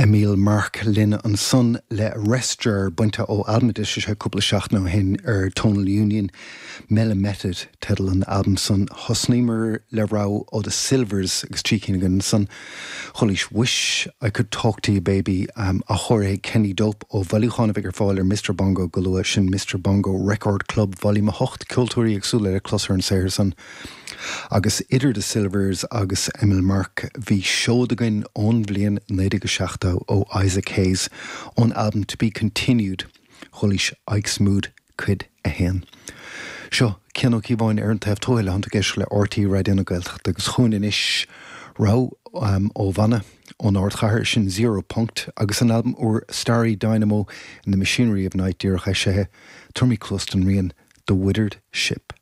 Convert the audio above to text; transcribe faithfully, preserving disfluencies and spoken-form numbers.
Emil Mark linn ansan le Restjar bainte ó albam a d'eisigh sé cúpla seachtain ó shin ar Tonal Union Mela Method teideal an albam san thosnaíomar le rogha ó The Sylvers agus trí cinn againn ansan chualaís Wish I Could Talk to You Baby um, athchóirithe Kenny Dope ó bhailiúchán a bheidh ar fáil ar Mr Bongo go luath sin Mr Bongo Record Club Volume a hocht ceoltóirí éagsúla le clos ar an saothar san. Agus idir The Sylvers agus Emil Mark bhí seod againn ón bhliain naoi déag seachtó ó Isaac Hayes ón album To Be Continued chualaís Ike's Mood cuid a haon. Seo Cian Ó Cíobháin ar an taobh tuile an géis le RTÉ Raidió na Gaeltachta agus chugainn anois rogha um, ó bhanna ón ardchathair sin Zero Punkt agus an album úr Starry Dynamo in the Machinery of Night díreach eisithe tugaimid cluas don rian The Withered Ship.